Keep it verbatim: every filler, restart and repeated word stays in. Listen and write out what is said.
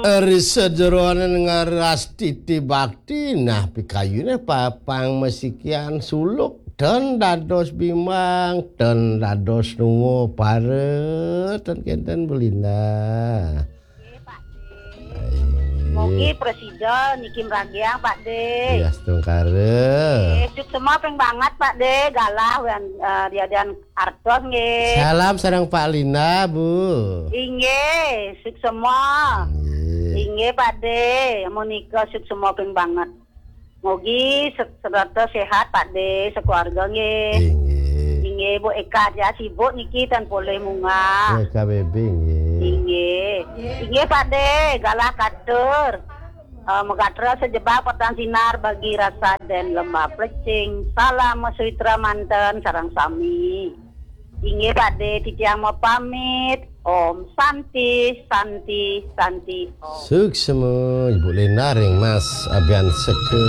Ri sajeroning ngarastiti bakti, nah, pikayune papang masikian suluk, ten dados bimbang, ten dados nungo para, ten kenten Bu Linda. Mogi presida niki mragiang, Pak De. Ya, astungkara. Eh, suksma ping banget, Pak De. Galah wan, eh, diadian artos nggih. Salam sareng Pak Linda, Bu. Inggih, suksma. Inggih. Inggih, Pak De. Menika suksma ping banget. Mogi se- serata sehat, Pak De, sekeluarga nggih. Inggih. Inggih, Bu Eka aja sibuk niki tan polih munggah. Ya, K B B nggih. Inggih. Inggih, Pak De, galah katur. Eh, megatra sejebak petang sinar bagi rasa dan lembah plecing. Salam meswitra manten sareng sami. Inggih, Pak De, titiang mapamit. Om Santi, Santi, Santi, Om. Suksma Ibu Linda ring Mas Abian Seke.